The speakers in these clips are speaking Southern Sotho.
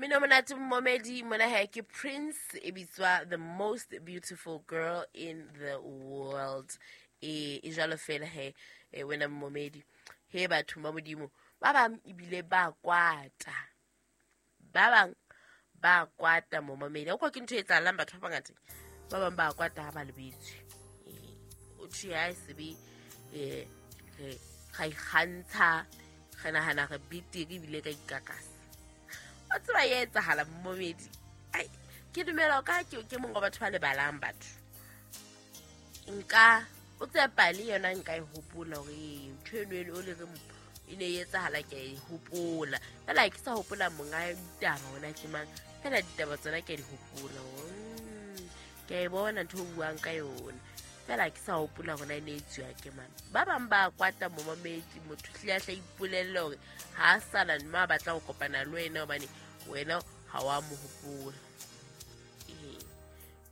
Mmino monate momedi mona he ke Prince, e bitswa The Most Beautiful Girl in the World. E jwalo fela he, wena momedi. He batho ba Modimo, ba bang ebile ba kwata. Ba bang ba kwata momamedi. O kwa ke ntho e etsahalang batho ba bangata. Ba bang ba kwata ha ba lebetswe. O thwe ha e sebe re ga ikgantsha, re nahana re betere ebile ka ikakasa. O tseba e etsahala momedi. Ai, ke dumela ka ke mongwe wa batho ba lebalang batho. Nka o tseba pale yona nka e hopola hore ntho eno eno o le re e ne e etsahala ke a e hopola. Fela ha ke sa hopola monga ditaba hona ke mang, fela ditaba tsona ke a di hopola hore, ke a e bona ntho o buang ka yona. Fela ha ke sa hopola hore na e ne e etsuwa ke mang. Ba bang ba kwata momamedi, motho hlile a hla ipolelle hore ha a sana mme a batla ho kopana le wena hobane wena ha wa mo hopola.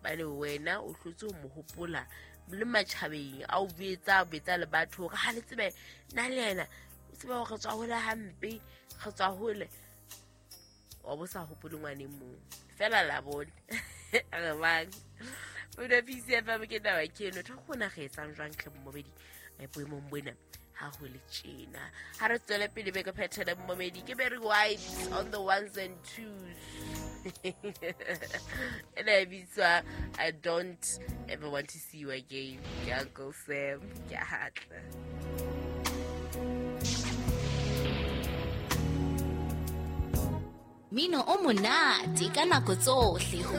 Hobane wena o hlotse ho mo hopola le matjhabeng, a o betsa, a betsa le batho hore ha le tsebe nna le yena, o tsebe hore re tswa hole hampe, re tswa hole. Wa bo sa hopole ngwaneng mong. Fela la bone. Re bang. Mona PCFM ke taba ke eno. Tho kgona re etsang jwang hle momedi, boemong bona ha ho le tjena. Ha re tswele pele be ke phethele momedi, ke Barry White on the ones and twos. Ena e bitswa I Don't Ever Want to See You Again. Ke Uncle Sam. Ke a hatla. Mino o monate ka nako tsohle ho